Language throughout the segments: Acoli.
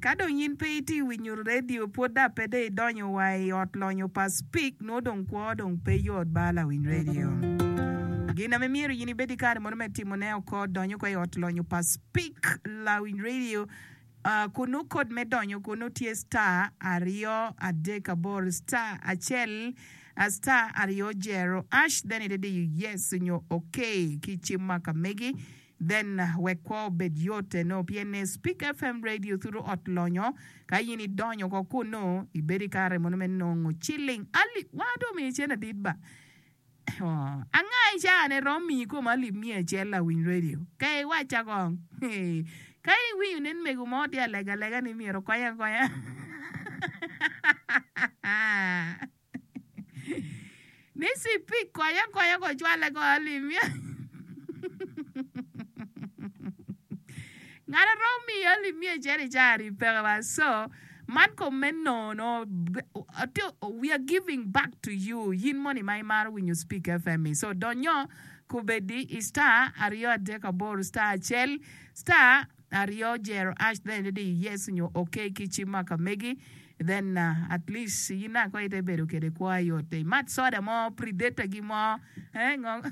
Ka dong in pe itye winyo radio pwod da pe dong idonyo wa i ot lonyo pa Speke nongo dong kwo dong pe yot ba lawiny radio. Gin ame myero in ibed ki kare mono me timone oko donyo ko i ot lonyo pa Speke lawiny radio Kunnu kod me donyo kunnu tye star aryo adek aboro star acel star aryo jero ash then ite diyo yes nyo ok ki cim ma ka megi then wek kwo obed yot eno pien ni Speak FM radio thuru ot lonyo ka in idonyo ko kunnu ibedo i kare mono me nongo ciling alip wa dong omiyo cen adit ba. Anga i caa-ni romo miyi kom alip miya acel lawiny redio? Ka iwacca kong. Ka iwinyo nen mego mo tye alega alega ni myero okonye akonya. Ni cipik konye akonya ko cwale ko alip miya. Ngat a romo miyi alip miya acel i caa-ni peke wa. So, Man kom me nono, we are giving back to you yin moni ma imaro winyo Speak FM-mi. So donyo kubedi i star 238 star acel star aryo jero ash then idi yes nyo ok ki cim ma ka megi then at least yin naka ite bedo kede kwo ayot imat soda mo predator gi mo eh ngo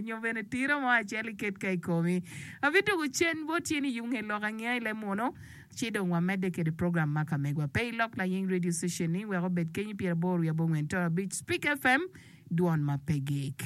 nyo bene tiro mo acel iket ka ikomi. Abituku cen bot in iyub nge lok angeya i leb munu. Ci dong wamedde kede program ma ka megwa. Pe ilok laying radio station ni wek obed kenyi 85 Speak FM, dwon ma pe gik.